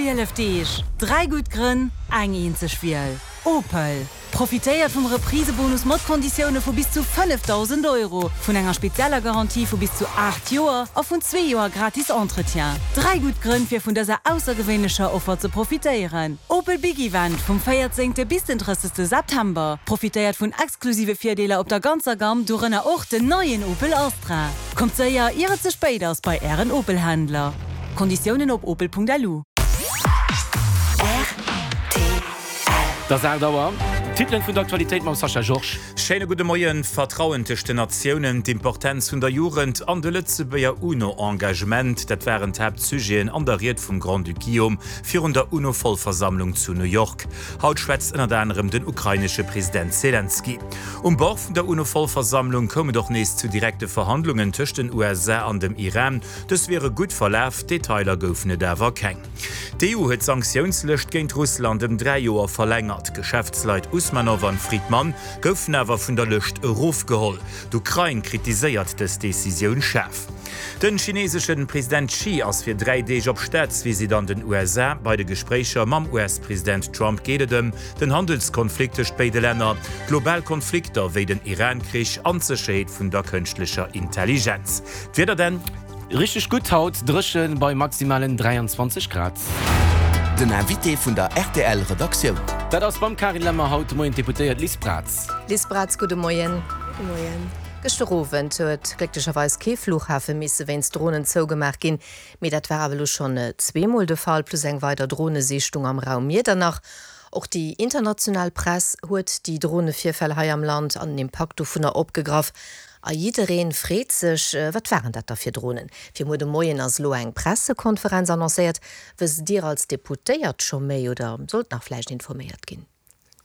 12 Deeg, 3 gutt Grënn, eng eenzeg Wiel, Opel! Profitéiert vum Reprisebonus mat Konditioune vu bis zu 5.000 Euro, vun enger spezieller Garantie vu bis zu 8 Joer a vun zwee Joer gratis Entretien. 3 gutt Grënn fir vun dëser aussergewéinlecher Offer ze profitéieren. Opel Big Event vum 14. Bis den 30. September. Profitéiert vun exklusive Virdeeler op der ganzer Gamm, dorënner och den neien Opel Astra. Kommt séier, ier et ze spéit ass, bei Ären Opel-Händler. Konditiounen op opel.lu. Et ass 8 Auer. D'Titelen vun der Aktualitéit mam Sascha Georges. Schéine gudde Moien. Vertrauen tëscht den Natiounen, d'Importenz vun der Jugend an de Lëtzebuerger UNO-Engagement, dat waren d'Haaptsujeten an der Ried vum Grand-Duc Guillaume virun der UNO-Vollversammlung zu New York. Haut schwätzt ënnert anerem den ukrainesche President Selenskyj. Um Bord vun der UNO-Vollversammlung koum et och nees zu direkte Verhandlungen tëscht den USA an dem Iran. Dës wiere gutt verlaf, Detailer goufen et awer keng. D'EU huet d'Sanktiounslëscht géint Russland ëm 3 Joer verlängert. D'Geschäftsleit Usmanov an Fridman goufen awer vun der Lëscht erofgeholl. D'Ukrain kritiséiert dës Decisioun schaarf. Den chineseschen President Xi ass fir 3 Deeg op Staatsvisitt an den USA. Bei de Gespréicher mam US-President Trump geet et ëm den Handelskonflikt tëscht béide Länner, global Konflikter wéi den Iran-Krich an d'Sécherheet vun der kënschtlecher Intelligenz. D'Wieder denn? Richteg gutt haut, dréchen bei maximalen 23 Grad. Den Invité vun der rtl Redaktioun. Dat ass beim Carine Lemmer haut de Moien d'Deputéiert Liz Braz. Liz Braz, gudde Moien. Gudde Moien. Gëschter Owend huet glécklecherweis kee Flughafe misse wéinst Dronen zougemaach ginn. Mee dat war awer elo schonn zweemol de Fall, plus eng weider Dronesichtung am Raum Miedernach. Och déi international Press huet déi Dronevirfäll hei am Land an den Impakt dovunner opgegraff. A jiddereen freet sech, Wat waren dat da fir Dronen? Fir muer de Moien ass elo eng Pressekonferenz annoncéiert. Wësst Dir als Deputéiert scho méi oder sollt nach vläicht informéiert ginn?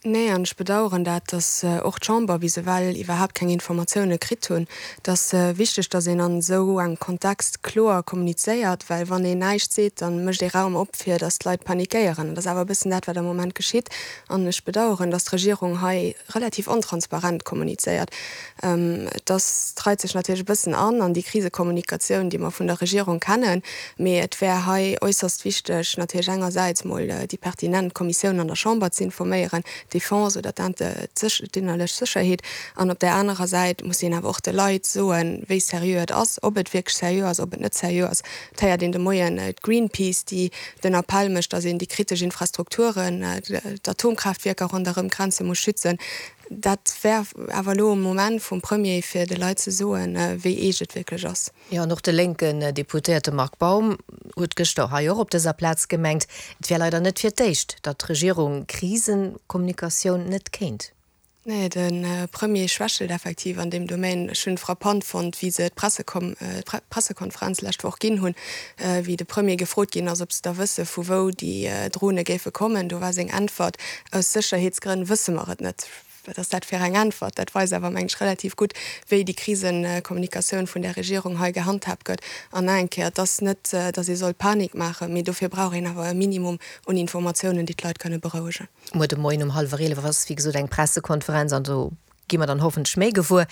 Nee, an ech bedaueren dat, datt och d'Chamber bis ewell iwwerhaapt keng Informatioune kritt hunn. Et ass wichteg, datt een an esou engem Kontext kloer kommunizéiert, well wann een näischt seet, da mécht ee Raum op, fir datt d'Leit panikéieren. Dat ass awer e bëssen dat, wat am Moment geschitt. An ech bedaueren, datt d'Regierung hei relativ ontransparent kommunizéiert. Et ass, et reit sech natierlech e bëssen an an déi Krisekommunikatioun, déi mer vun der Regierung kennen, mee et wär hei äusserst wichteg, natierlech engersäits mol déi pertinent Kommissioun an der Chamber ze informéieren, d'Defense oder d'innerlech Sécherheet, an op där anerer Säit muss een awer och de Leit soen, wéi seriö et ass, ob et wierklech seriö ass, ob et net seriö ass. Et héiert een de Moien d'Greenpeace, déi den Appell mécht, datt een déi kritesch Infrastrukturen, d'Atomkraaftwierker ronderëm d'Grenze muss schützen. Dat wär awer elo e Moment vum Premier, fir de Leit ze soen, wéi eescht et wierklech ass. Jo, an och de lénken Deputéierte Marc Baum huet gëschter hei och op dëser Plaz gemengt, et wär leider net fir d'éischt, datt d'Regierung Krisekommunikatioun net kéint. Nee, de Premier schwächelt effektiv an deem Domaine. Ech hunn frappant fonnt, wéi se d'Pressekonferenz lescht Woch ginn hunn, wéi de Premier gefrot ginn ass, ob se da wësse vu wou déi Drone géife kommen. Do war seng Äntwert, Aus Sécherheetsgrënn wësse mer et net. Wat ass dat fir eng Äntwert? Dat weist awer, meng ech, relativ gutt, wéi déi Krisekommunikatioun vun där Regierung hei gehandhaabt gëtt. An nach eng Kéier, et ass net, datt ee soll Panik maachen, mee dofir brauch een awer e Minimum un Informatiounen, déi d'Leit kënne berouegen. Muer de Moien um hallwer 11 ass, wéi gesot, eng Pressekonferenz an do gi mer dann hoffentlech méi gewuer.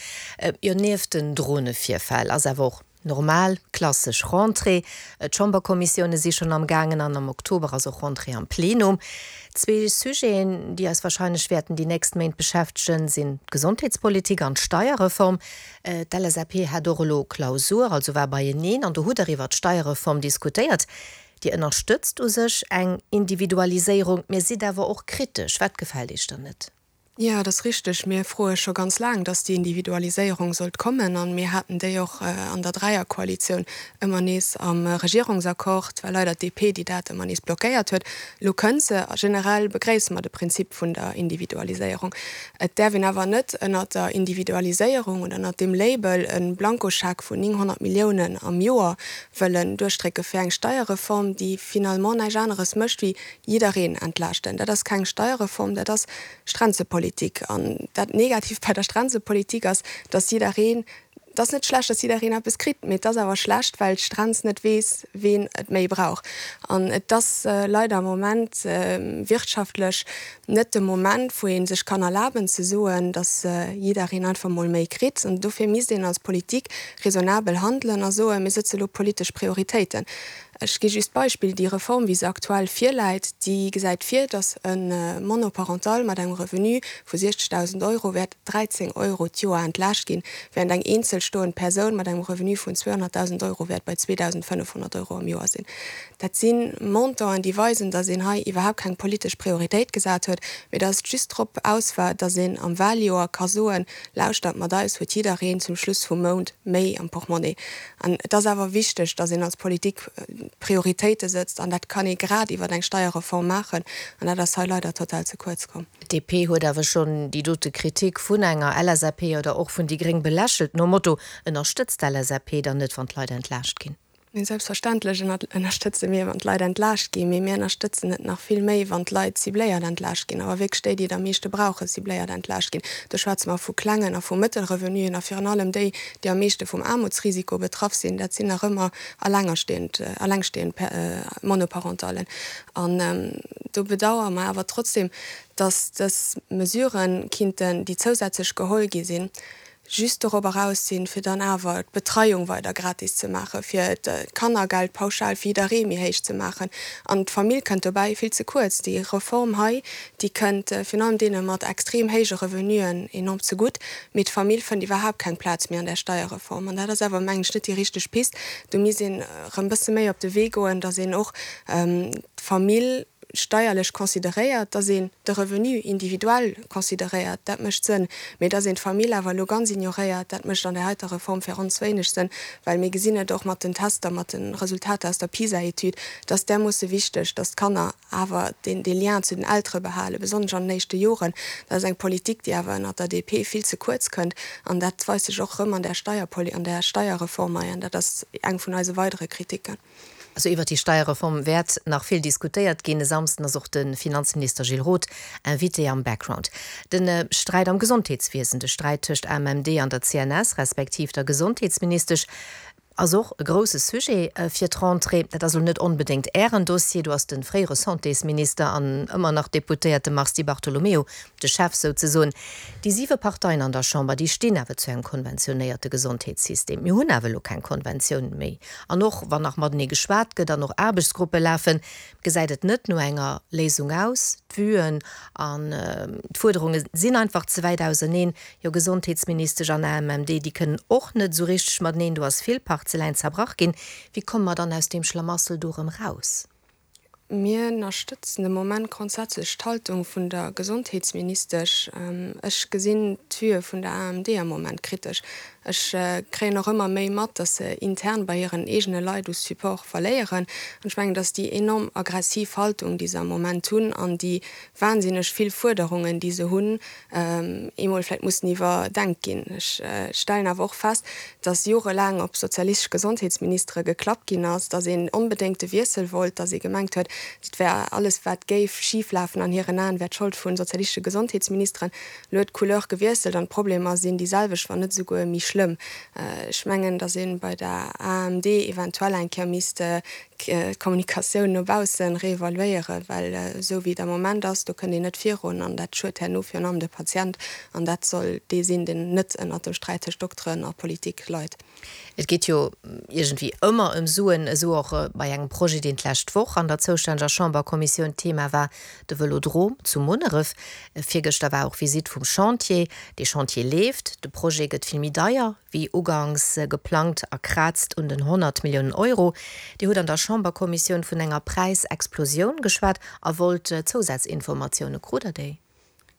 Jo, nieft den Dronevirfäll ass awer och Normal, klassesch Rentrée. D'Chamberkommissioune si schonn am gaangen an am Oktober ass och Rentrée am Plenum. Zwee Sujeten, déi eis warscheinlech wäerten déi nächst Méint beschäftegen, sinn d'Gesondheetspolitik an d'Steierreform. D'LSAP hat och elo Klausur, also war beieneen an do hutt Der iwwer d'Steierreform diskutéiert. Dir ënnerstëtzt u sech eng Individualiséierung, mä sidd awer och kritesch. Wat gefält Iech dann net? Jo, et ass richteg. Mir froe scho ganz laang, dass déi Individualiséierung sollt kommen. A mir haten déi och an der Dräierkoalitioun ëmmer nees am Regierungsaccord. Et war leider d'DP, déi dat ëmmer nees blockéiert huet. Elo kënnt se. A generell begréisse mer de Prinzip vun der Individualiséierung. Et däerf een awer net ënnert der Individualiséierung oder ënnert deem Label e Blankoscheck vun 900 Milliounen am Joer wëllen duerchdrécke fir eng Steierreform, déi finalement näischt aneres mécht wéi jiddereen entlaaschten. Dat ass keng Steierreform, dat ass Strenzepolitik. An dat Negatiivt bei der Strenzepolitik ass, dass jiddereen, et ass net schlecht, dass jiddereen eppes kritt, mee et ass awer schlecht, well d'Strenz net weess, ween et méi brauch. An et ass leider am Moment wirtschaftlech net de Moment, wou ee sech kann erlaben ze soen, dass jiddereen einfach mol méi kritt. An dofir misst een als Politik raisonnabel handelen a soen, mir sëtze lo politesch Prioritéiten. Ech gi just d'Beispill, Déi Reform, wéi se aktuell virläit, déi gesäit vir, datt e Monoparental mat engem Revenu vu 60.000 Euro wäert 13 Euro d'Joer entlaascht ginn, während eng eenzelstoend Persoun mat engem Revenu vun 200.000 Euro wäert bei 2.500 Euro am Joer sinn. Dat si Montanten, déi weisen, datt een hei iwwerhaapt keng politesch Prioritéit gesat huet, mee datt et just drop aus war, datt een am Wahljoer ka soen, Lauschtert, mat eis huet jiddereen zum Schluss vum Mount méi am Portmonnaie. An et ass awer wichteg, datt een als Politik Prioritéite sëtzt, an dat kann ee grad iwwer eng Steierreform maachen, an dat ass hei leider total ze kuerz komm. D'DP huet awer schonn déi dote Kritik vun enger LSAP oder och vun déi Gréng belächelt, nom Motto, Ënnerstëtzt d'LSAP dann net, wann d'Leit entlaascht ginn? Mee selbstverständlech ënnerstëtze mir, wann d'Leit entlaascht ginn. Mee mir ënnerstëtzen et nach vill méi, wann d'Leit cibléiert entlaascht ginn, awer wierklech déi, déi et am meeschte brauchen, cibléiert entlaascht ginn. Do schwätze mer vu klengen a vu Mëttelrevenuen a virun allem déi, déi am meeschte vum Aarmutsrisiko betraff sinn, dat sinn nach ëmmer alengerstehend, allengstehend Monoparentallen. An do bedauere mer awer trotzdem, dass dës Mesuren kinnten, déi zousätzlech geholl gi sinn, just dorop eraus sinn, fir dann awer d'Betreiung weider gratis ze maachen, fir d'Kannergeld pauschal fir jidderee méi héich ze maachen. An d'Famill kënnt dobäi vill ze kuerz. Déi Reform hei, déi kënnt virun allem deene mat extrem héije Revenuen enorm zegutt, mee d'Famill fënnt iwwerhaapt keng Plaz méi an där Steierreform. An dat ass awer, mengen ech, net déi richteg Pist. Do misst een erëm e bësse méi op de Wee goen, datt een och d'Famill, steierlech consideréiert, dass een de Revenu individuell consideréiert, dat mécht Sënn, mee dass een d'Famill awer elo ganz ignoréiert, dat mécht an där heiter Reform fir ons wéineg Sënn, well mir gesinn et och mat den Tester, mat de Resultater aus der PISA-Etüd, et ass därmoosse wichteg, dass d'Kanner awer deen dee Lien zu den Eltere behalen, besonnesch an den éischte Joren. Dat ass eng Politik, déi awer ënnert der DP vill ze kuerz kënnt an dat weist sech och erëm an där Steierpoli-, an där Steierreform hei an dat ass eng vun eise weidere Kritiken. Also iwwert déi Steierreform wäert nach vill diskutéiert ginn. E Samsden ass och de Finanzminister Gilles Roth Invité am Background. De Sträit am Gesondheetswiesen, de Sträit tëscht AMMD an der CNS, respektiv der Gesondheetsministesch, ass och e grousse Sujet fir d'Rentrée. Dat ass elo net onbedéngt Ären Dossier, do ass de fréiere Santésminister an ëmmer nach Deputéierte Mars Di Bartolomeo de Chef souzesoen. Déi siwe Parteien an der Chamber, déi stinn awer zu engem konventionéierte Gesondheetssystem. Mir hunn awer elo keng Konventioun méi. An och wann nach matenee geschwat gëtt an och Aarbechtsgruppe lafen, gesäit et net no enger Léisung aus. D'Vuen an d'Fuerderunge sinn einfach ze wäit auseneen. Jo, Gesondheetsministesch an AMMD, déi kënnen och net esou richteg mateneen. Do ass vill Parzeläin zerbrach ginn. Wéi komme mer dann aus deem Schlamassel do erëm raus? Mir ënnerstëtzen de Moment grondsätzlech d'Haltung vun der Gesondheetsministesch. Ech gesinn d'Vue vun der AMMD am Moment kritesch. Ech kréien och ëmmer méi mat, datt se intern bei hiren eegene Leit u Support verléieren. An ech mengen, datt déi enorm aggressiv Haltung, déi se am Moment hunn, an déi wahnsinneg vill Fuerderungen, déi se hunn, eemol vläicht mussen iwwerdenkt ginn. Ech stellen awer och fest, dass jorelaang op sozialistesch Gesondheetsministere geklappt ginn ass, dass een onbedéngt de Wiessel wollt, dass ee gemengt huet, et wär alles wat géif schiflafen an hiren Aen, wär d'Schold vu sozialistesche Gesondheetsministeren. Elo huet d'Couleur gewiesselt an d'Problemer sinn déi selwecht, wann net esouguer méi schlëmm. Ech mengen, dass ee bei der AMD eventuell eng Kéier misst d'Kommunikatioun no baussen reevaluéieren, well esou wéi et am Moment ass, do kënnt een net virun an dat schued herno virun allem de Patient an dat soll dee sinn, deen net ënnert dem Sträit tëscht Dokteren a Politik leit. Et geet jo iergendwéi ëmmer ëm Suen, esou och bei engem Projet, deen d'lescht Woch an der zoustänneger Chamberkommissioun Thema war, de Vëlodrom zu Munneref. Virgëschter war och Visitt vum Chantier. Dee Chantier leeft, de Projet gëtt vill méi deier, wéi uganks geplangt a kraazt un den 100 Milliounen Euro. Dir hutt an der Chamberkommissioun vun enger Präisexplosioun geschwat a wollt Zousazinformatioune. Krut Der déi?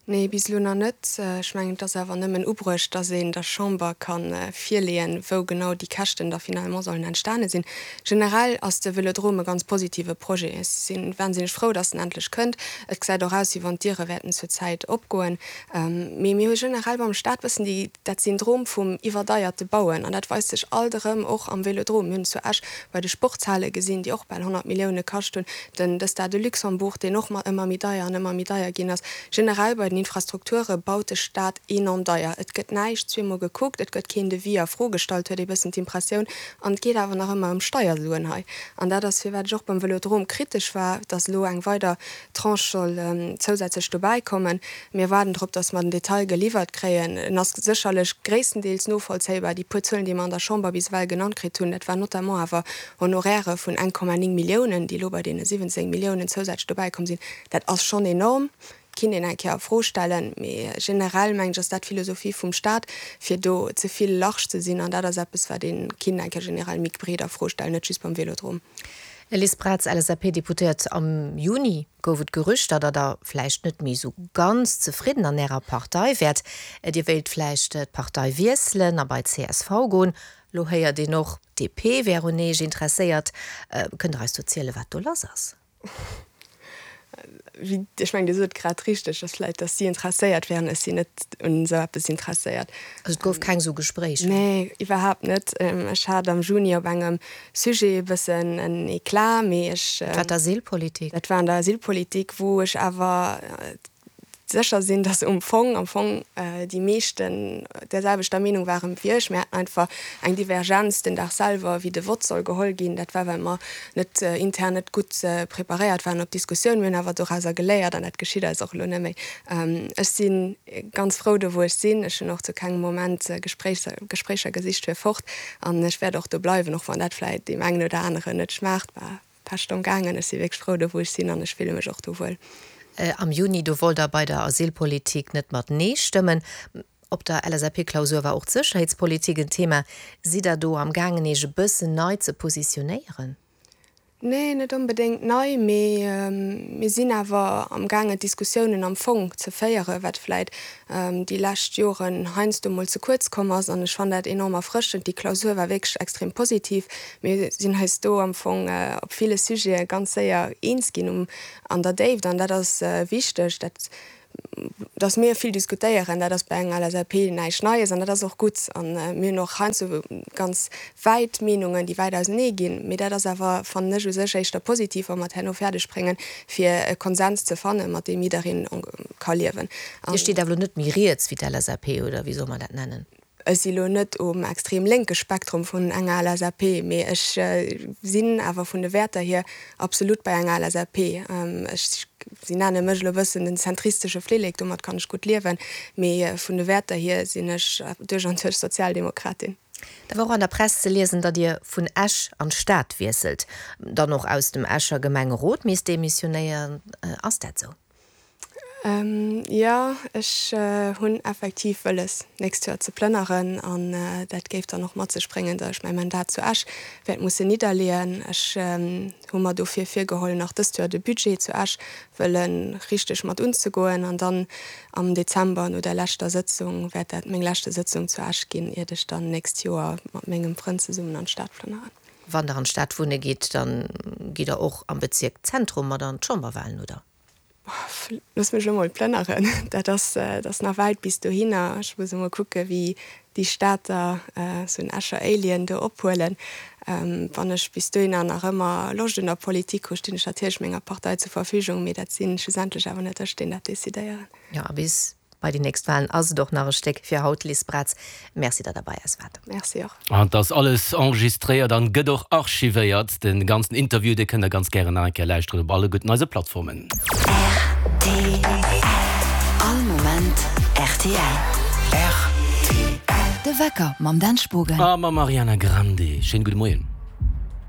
Nee, bis elo nach net. Ech mengen, et ass awer nëmmen ubruecht, dass een der Chamber ka virleeën, wou genau déi Käschten da finalement sollen entstane sinn. Generell ass de Vëlodrom e ganz positive Projet. Ech si wahnsinneg frou, dass en endlech kënnt. Et gesäit och aus, wéi wann d'Diere wäerten zur Zäit opgoen. Mee mir hu generell beim Staat bëssen déi, dat Syndrom vum iwwerdeierte Bauen. An dat weist sech alt erëm och am Vélodrome. Mir hunn et zu Esch bei de Sportshale gesinn, déi och bal 100 Millioune kascht hunn, den de Stade de Luxembourg, deen och ëmmer méi deier an ëmmer méi deier ginn ass. Generell bei den. den Infrastrukture baut de Staat enorm deier. Et gëtt näischt zweemol gekuckt, et gëtt keen Devis a Fro gestallt, huet ee bëssen d'Impressioun. An et geet awer nach ëmmer ëm Steiersuen hei. An dat ass, firwat ech och beim Vëlodrom kritesch war, dass elo eng weider Tranche soll zousätzlech dobäi kommen. Mir waarden drop, dass mer den Detail geliwwert kréien. En ass sécherlech gréisstendeels novollzéibar. Déi puer Zuelen, déi mer an der Chamber bis ewell genannt kritt hunn, dat war notamment awer Honorairë vun 1,9 Milliounen, déi elo bei deene 17 Milliounen zousätzlech dobäi komm sinn. Dat ass schonn enorm, kinnt een eng Kéier a Fro stellen. Mee generell, mengen ech, ass dat d'Philosophie vum Stat, fir do ze vill large ze sinn. An dat ass eppes, wat ee kinnt eng Kéier generell méi breet a Fro stellen, net just beim Vélodrom. Liz Braz, LSAP-Deputéiert, Am Juni gouf et Gerüchter, datt Der vläicht net méi esou ganz zefridden an Ärer Partei wäert. Dir wéilt vläicht d'Partei wiesselen a bei csv goen. Lo héiert een och, d'DP wär un Eech interesséiert. Kënnt Der eis do zielen, wat do lass ass? Wéi, ech mengen, Dir sot et grad richteg, dass vläicht, dass si interesséiert wären. Ech sinn net un esou eppes interesséiert. Also et gouf keng esou Gespréicher? Nee, iwwerhaapt net. Ech hat am Juni op engem Sujet e bëssen en Eclat, mee ech. Dat war d'Asylpolitik? Dat war an der Asylpolitik, wou ech awer sécher sinn, dass um Fong, am Fong déi meeschten där selwechter Meenung waren wéi ech. Mir haten einfach eng Divergenz den Dag selwer, wéi de Vott soll geholl ginn. Dat war, well mer net intern net gutt preparéiert waren op d'Diskussioun. Mir hunn awer dorauser geléiert an dat geschitt eis och elo net méi. Ech si ganz frou do, wou ech sinn. Ech hunn och zu kengem Moment Gespréicher gesicht fir fort an ech wäert och do bleiwen, och wann dat vläit deem engen oder aneren net schmaacht. Pescht am gaangen. Ech si wierklech frou do wou ech sinn an ech fille mech och do wuel. Am Juni, do wollt der bei der Asylpolitik net mat Nee stëmmen. Op der LSAP-Klausur war och d'Sécherheetspolitik en Thema. Sidd der do am gaangen Iech e bëssen nei ze positionéieren? Nee, net onbedéngt nei, mee mir sinn awer am gaangen d'Diskussiounen am Fong ze féieren, wat vläit déi lescht Joren heiansdo mol ze kuerz komm ass. An ech fannen dat enorm erfrëschend. Déi Klausur war wierklech extrem positiv. Mir sinn eis do am Fong op ville Sujete ganz séier eens ginn um an der Déift. An dat ass wichteg, dat, dass mir vill diskutéieren, dat ass bei enger LSAP näischt Neies an dat ass och gutt. A mir hunn och heiansdo ganz wäit Meenungen, déi wäit ausenee ginn. Mee dat ass awer, fannen ech, u sech éischter positiv, wa mer et herno fäerdeg bréngen, fir e Konsens ze fannen, mat deem jiddereen ka liewen. Dir steet awer elo net méi riets wéi d'LSAP, oder wéi soll mer dat nennen? Ech si lo net um extrem lénke Spektrum vun enger LSAP, mee ech sinn awer vun de Wäerter hier absolut bei enger LSAP. Ech, si nenne mech elo e bëssen den zentristesche Flillek, domat kann ech gutt liewen, mee vun de Wäerter hier sinn ech duerch an duerch Sozialdemokratin. Da war och an der Press ze liesen, datt Dir vun Esch an d'Stad wiesselt, dann och aus dem Escher Gemengerot misst demissionéieren. Ass dat sou? Jo, ech hunn effektiv wëlles, nächst Joer ze plënneren. An dat géif dann och mat sech bréngen, datt ech mäi Mandat zu Esch wäert mussen nidderleeën. Ech hu mer dofir virgeholl, nach dëst Joer de Budget zu Esch wëlle richteg mat unzegoen. An dann am Dezember, no der leschter Sëtzung, wäert dat meng leschte Sëtzung zu Esch ginn, iert ech dann nächst Joer mat mengem Frënd zesummen an d'Stad plënneren. Wann Der an d'Stad wunne gitt, dann gitt Der och am Bezierk Zentrum mat an d'Chamberwahlen, oder? Looss mech elo mol plënneren. Dat ass, dat ass nach wäit bis dohinner. Ech muss emol kucke wéi déi Stater sou en Escher Alien do ophuelen. Wann ech bis dohinner nach ëmmer Loscht un der Politik hu, stinn ech natierlech menger Partei zur Verfügung, mee dat si schlussendlech awer net ech, deen dat decidéieren. Jo, a bis Bei déi nächst Wahlen ass et och nach e Stéck. Fir haut, Liz Braz, Merci, datt Der bei eis waart. Merci och. An et ass alles enregistréiert an gëtt och archivéiert. Den ganzen Interview, dee kënnt der ganz gären nach eng Kéier lauschteren op alle gudden eise Plattformen. Rtl. All Moment rtl. Rtl. De Wecker mam Dan Spogen. A mam Ariana Grande. Schéine gudde Moien.